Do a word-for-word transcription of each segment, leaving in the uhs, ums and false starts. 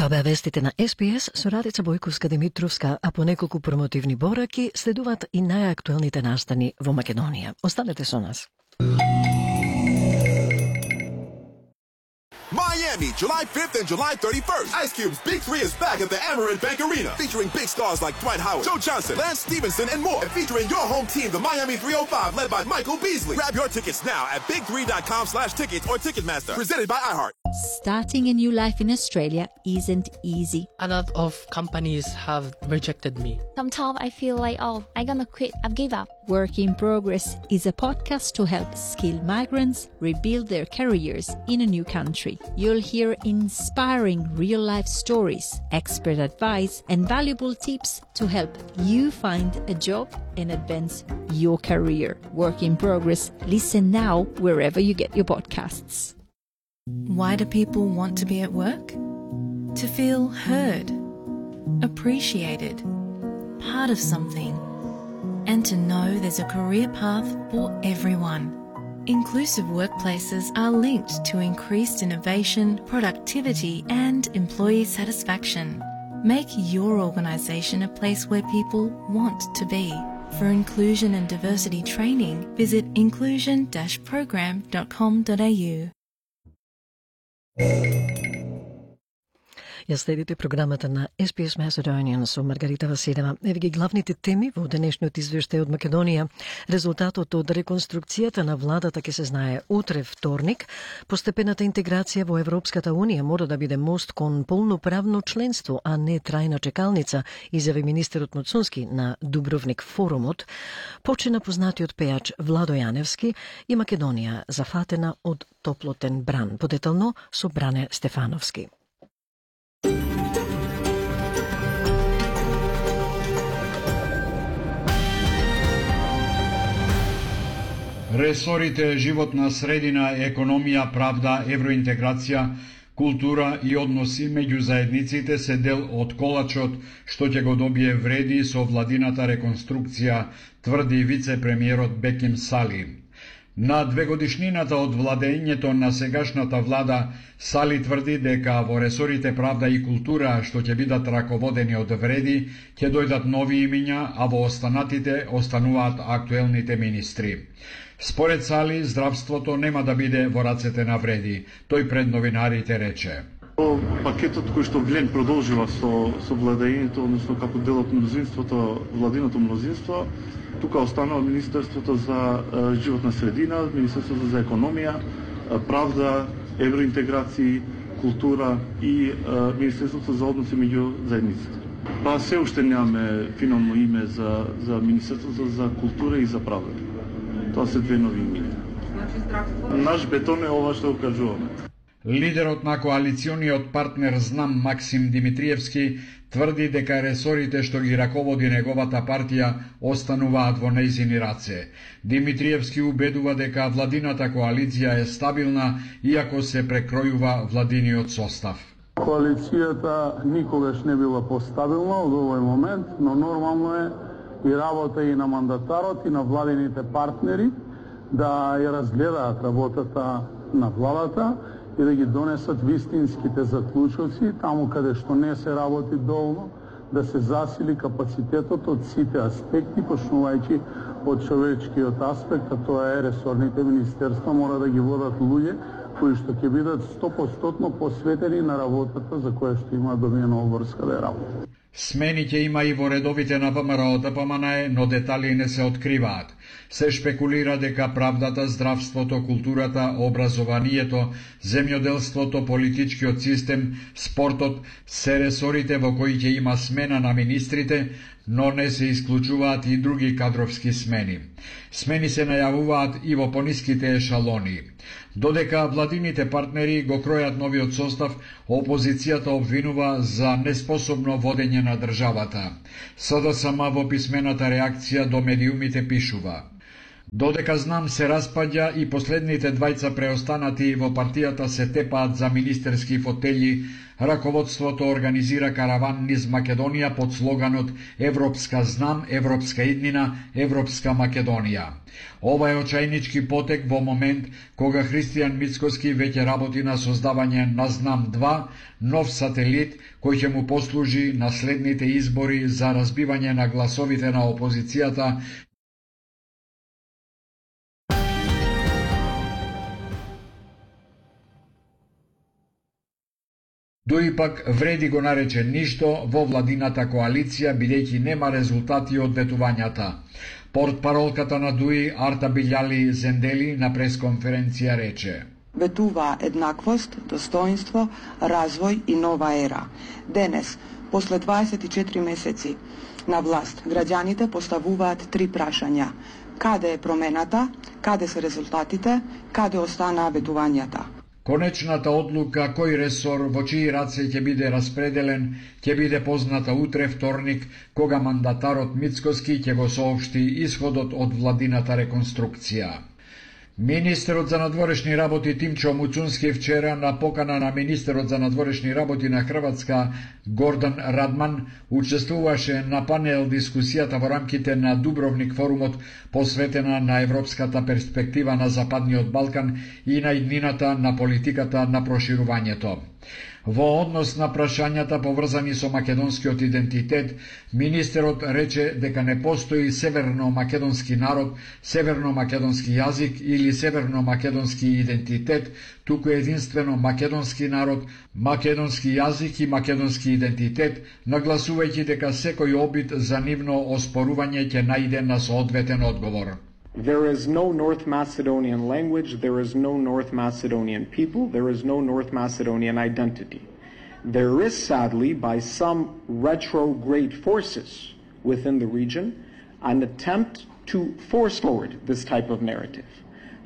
Тоа беа вестите на Ес Би Ес со Радица Бојковска-Димитровска, а по неколку промотивни бораки следуваат и најактуелните настани во Македонија. Останете со нас. Miami, July fifth and July thirty-first. Ice Cube's Big Three is back at the Amerant Bank Arena, featuring big stars like Dwight Howard, Joe Johnson, Lance Stevenson, and more. And featuring your home team, the Miami three oh five, led by Michael Beasley. Grab your tickets now at big three dot com slash tickets or Ticketmaster. Presented by iHeart. Starting a new life in Australia isn't easy. A lot of companies have rejected me. Sometimes I feel like, oh, I'm gonna quit, I've give up. Work in Progress is a podcast to help skilled migrants rebuild their careers in a new country. You'll hear inspiring real-life stories, expert advice, and valuable tips to help you find a job and advance your career. Work in Progress. Listen now wherever you get your podcasts. Why do people want to be at work? To feel heard, appreciated, part of something, and to know there's a career path for everyone. Inclusive workplaces are linked to increased innovation, productivity, and employee satisfaction. Make your organisation a place where people want to be. For inclusion and diversity training, visit inclusion dash program dot com dot a u. Ја следите програмата на Ес Би Ес Macedonian со Маргарита Василева. Еве ги главните теми во денешниот извештај од Македонија. Резултатот од реконструкцијата на владата ќе се знае утре вторник. Постепената интеграција во Европската Унија мора да биде мост кон полноправно членство, а не трајна чекалница, изјави министерот Моцунски на Дубровник форумот. Почина познатиот пејач Владо Јаневски и Македонија зафатена од топлотен бран. Подетално со Бране Стефановски. Ресорите животна средина, економија, правда, евроинтеграција, култура и односи меѓу заедниците се дел од колачот што ќе го добие вреди со владината реконструкција, тврди вице-премиерот Беким Сали. На двегодишнината од владењето на сегашната влада, Сали тврди дека во ресорите правда и култура, што ќе бидат раководени од вреди, ќе дојдат нови имиња, а во останатите остануваат актуелните министри. Според Сали, здравството нема да биде во рацете на вреди. Тој пред новинарите рече: Пакетот кој што Глен продолжува со со владењето, односно како дел од мнозинството, владиното мнозинство, тука останува Министерството за е, животна средина, Министерството за економија, е, правда, евроинтеграција, култура и е, Министерството за односи меѓу заедниците. Па се уште немаме финално име за за Министерството за култура и за правда. Тоа се две нови имена. Значи здравство. Наш бетон е ова што го кажуваме. Лидерот на коалициониот партнер Знам Максим Димитриевски тврди дека ресорите што ги раководи неговата партија остануваат во нејзини раце. Димитриевски убедува дека владината коалиција е стабилна, иако се прекројува владиниот состав. Коалицијата никогаш не била постабилна од овој момент, но нормално е и работа и на мандатарот и на владините партнери да ја разгледаат работата на владата и да ги донесат вистинските заклучоци, таму каде што не се работи доволно, да се засили капацитетот од сите аспекти, почнувајќи од човечкиот аспект, а тоа е ресорните министерства мора да ги водат луѓе кои што ќе бидат сто проценти посветени на работата за која што има добиена обврска да ја работи. Смени ќе има и во редовите на ВМРО Д П М Н Е, но детали не се откриваат. Се шпекулира дека правдата, здравството, културата, образованието, земјоделството, политичкиот систем, спортот се ресорите во кои ќе има смена на министрите, но не се исклучуваат и други кадровски смени. Смени се најавуваат и во пониските ешалони. Додека владините партнери го кројат новиот состав, опозицијата обвинува за неспособно водење на државата. С Д С М во писмената реакција до медиумите пишува: Додека знам се распаѓа и последните двајца преостанати во партијата се тепаат за министерски фотели, раководството организира караван низ Македонија под слоганот Европска знам, Европска иднина, Европска Македонија. Ова е очајнички потек во момент кога Христијан Мицкоски веќе работи на создавање на Знам два, нов сателит кој ќе му послужи на следните избори за разбивање на гласовите на опозицијата. Дуи пак вреди го нарече ништо во владината коалиција, бидејќи нема резултати од ветувањата. Портпаролката на Дуи, Арта Билјали Зендели, на пресконференција рече: Ветува еднаквост, достоинство, развој и нова ера. Денес, после дваесет и четири месеци на власт, граѓаните поставуваат три прашања. Каде е промената, каде се резултатите, каде останаа ветувањата? Конечната одлука кој ресор во чии раце ќе биде распределен ќе биде позната утре вторник, кога мандатарот Мицкоски ќе го соопшти исходот од владината реконструкција. Министерот за надворешни работи Тимчо Муцунски вчера на покана на министерот за надворешни работи на Хрватска Гордан Радман учествуваше на панел дискусијата во рамките на Дубровник форумот посветена на европската перспектива на Западниот Балкан и на иднината на политиката на проширувањето. Во однос на прашањата поврзани со македонскиот идентитет, министерот рече дека не постои северно-македонски народ, северно-македонски јазик или северно-македонски идентитет, туку единствено македонски народ, македонски јазик и македонски идентитет, нагласувајќи дека секој обид за нивно оспорување ќе најде на соодветен одговор. There is no North Macedonian language, there is no North Macedonian people, there is no North Macedonian identity. There is, sadly, by some retrograde forces within the region, an attempt to force forward this type of narrative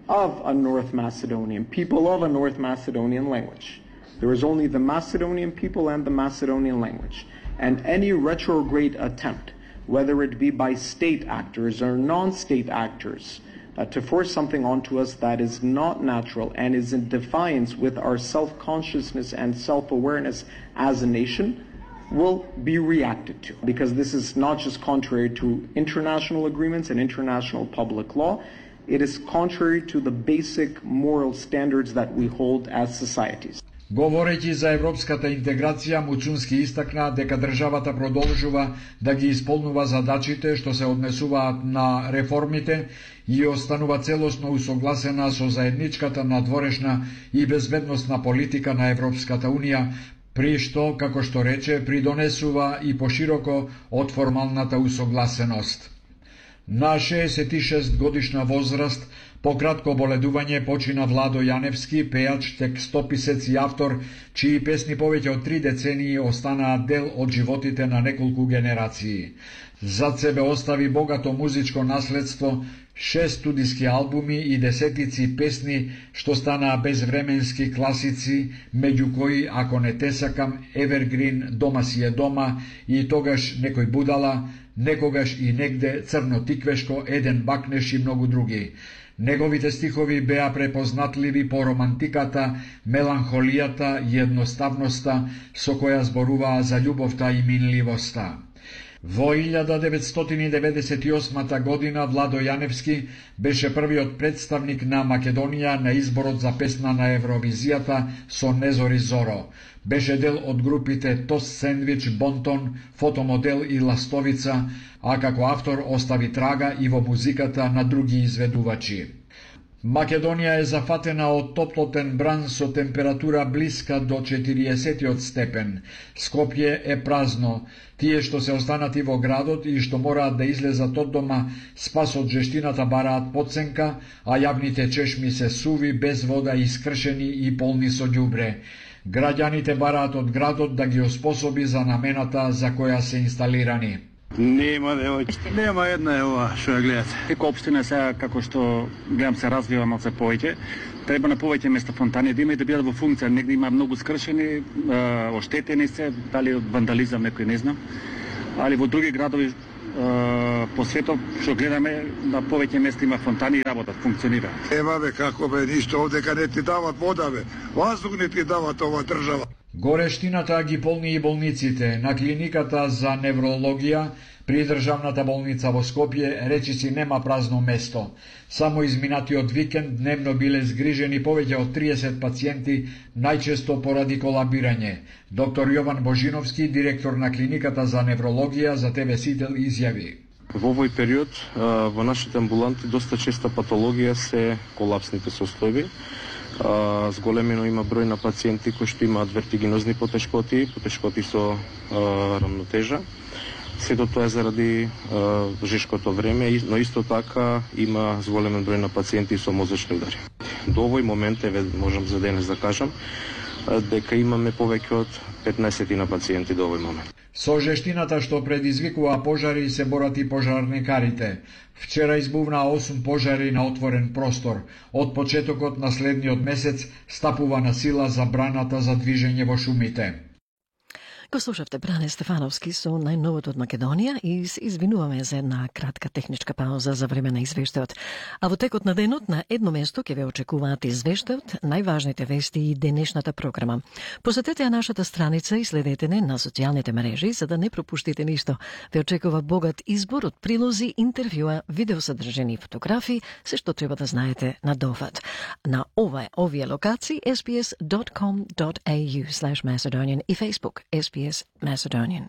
of a North Macedonian people, of a North Macedonian language. There is only the Macedonian people and the Macedonian language. And any retrograde attempt, whether it be by state actors or non-state actors, uh, to force something onto us that is not natural and is in defiance with our self-consciousness and self-awareness as a nation, will be reacted to. Because this is not just contrary to international agreements and international public law, it is contrary to the basic moral standards that we hold as societies. Говорејќи за европската интеграција, Муцунски истакна дека државата продолжува да ги исполнува задачите што се однесуваат на реформите и останува целосно усогласена со заедничката надворешна и безбедносна политика на Европската Унија, при што, како што рече, придонесува и пошироко од формалната усогласеност. На шеесет и шест годишна возраст, по кратко боледување, почина Владо Јаневски, пејач, текстописец и автор, чии песни повеќе од три децении останаат дел од животите на неколку генерации. Зад себе остави богато музичко наследство, шест студиски албуми и десетици песни што станаа безвременски класици, меѓу кои, ако не те сакам, Evergreen, Дома си е дома и тогаш некој будала, некогаш и негде, Црно тиквешко, Еден бакнеш и многу други. Неговите стихови беа препознатливи по романтиката, меланхолијата и едноставноста со која зборуваа за љубовта и минливоста. Во илјада деветстотини деветдесет и осма година Владо Јаневски беше првиот представник на Македонија на изборот за песна на Евровизијата со Незори Зоро. Беше дел од групите Тост Сендвич, Бонтон, Фотомодел и Ластовица, а како автор остави трага и во музиката на други изведувачи. Македонија е зафатена од топлотен бран со температура блиска до четириесет степен. Скопје е празно. Тие што се останати во градот и што мораат да излезат од дома, спас од жештината бараат подсенка, а јавните чешми се суви, без вода, искршени и полни со ѓубре. Граѓаните бараат од градот да ги оспособи за намената за која се инсталирани. Нема, девојче, нема една е ова што ја гледате. Дека општина сега, како што гледам се развива малце повеќе, треба на повеќе места фонтани да има и да бидат во функција. Негде има многу скршени, оштетени се, дали од вандализам некој не знам. Али во други градови по светот што гледаме на повеќе места има фонтани и работат, функционираат. Ева бе, како бе, ништо овдека не ти дават вода бе, воздух не ти дават ова држава. Горештината ги полни и болниците. На клиниката за неврологија при државната болница во Скопје речиси нема празно место. Само изминатиот викенд дневно биле згрижени повеќе од триесет пациенти, најчесто поради колабирање. Доктор Јован Божиновски, директор на клиниката за неврологија за Те Ве Сител, изјави: Во овој период во нашите амбуланти доста честа патологија се колапсните состојби. Зголемено има број на пациенти кои што имаат вертигинозни потешкоти, потешкоти со а, рамнотежа. Сето тоа е заради а, жешкото време, но исто така има зголемен број на пациенти со мозочни удари. До овој момент, еве можам за денес да кажам, дека имаме повеќе од петнаесет на пациенти до овој момент. Со жештината што предизвикува пожари се борат и пожарникарите. Вчера избувнаа осум пожари на отворен простор. Од почетокот на следниот месец стапува на сила забраната за движење во шумите. Го слушавте Бране Стефановски со најновото од Македонија и се извинуваме за една кратка техничка пауза за време на извештајот. А во текот на денот на едно место ќе ве очекуваат извештајот, најважните вести и денешната програма. Посетете ја нашата страница и следете не на социјалните мрежи за да не пропуштите ништо. Ве очекува богат избор од прилози, интервјуа, видеосадржини и фотографии, се што треба да знаете на дофат. На ова овие локации ес би ес dot com dot a u slash Macedonian и Facebook ес би ес Macedonian.